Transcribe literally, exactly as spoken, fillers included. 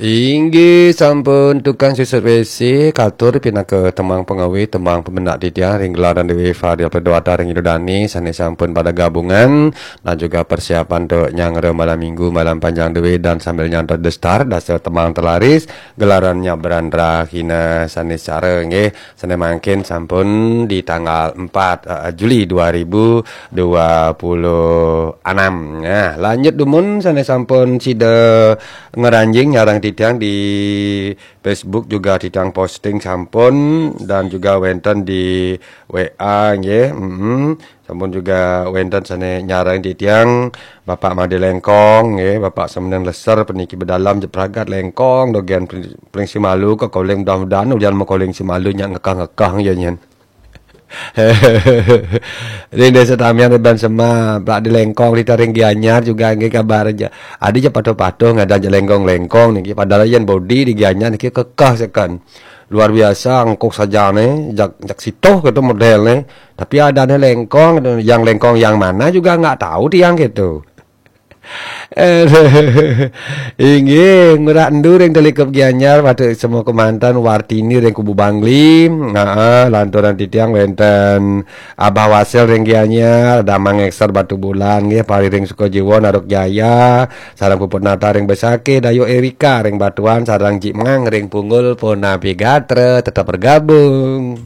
Inggih sampun tukang susut W C, katur pinaka tembang pengawi, tembang pemendak titiang ring gelaran Dewi Fadil Pedwata ring Idudani sane sampun pada gabungan dan juga persiapan untuk nyanggra malam minggu, malam panjang Dewi dan sambil nyantap destar dasar tembang telaris gelaran Nyak Berandra Hina sane secara nggih. Sane mangkin sampun di tanggal empat, eh, Juli dua ribu dua puluh enam. Nah, lanjut dumun sane sampun sida ngranjing nyarang titiang di Facebook juga titiang posting sampun dan juga wenten di W A nggih. Mm-mm. Sampun juga wenten sane nyarang titiang Bapak Made Lengkong nggih, Bapak Semeneng Leser peniki bedalam jepragat Lengkong dogen Pring-, Pring Simalu ke koling mudah-mudahan ulian makoling Simalu nyak ngekah-ngekah ya nyen. Ring desa Tamiang Reban Sema, Pak di Lengkong di Taring Gianyar juga nggih kabar aja. Adi je patuh-patuh ngadan je lengkong-lengkong niki padahal yen bodi di Gianyar niki kekeh seken. Luar biasa engkuk sajane jak jak situh gitu model ne. Tapi adane lengkong gitu. Yang lengkong yang mana juga nggak tahu tiang gitu. Inggih, Ngurah Endu ring Telikup Gianyar, Batu Semua Kemantan, Wartini ring Kubu Bangli. Heeh, lanturan titiang wenten Abah Wasel ring Gianyar, Damang Ekser Batu Bulan nggih, Pari ring Sukajiwa, Naruk Jaya, sareng Puput Nata ring Besakih, Dayu Erika ring Batuan, sareng Jik Mang ring Punggul, punapi gatra, tetap bergabung.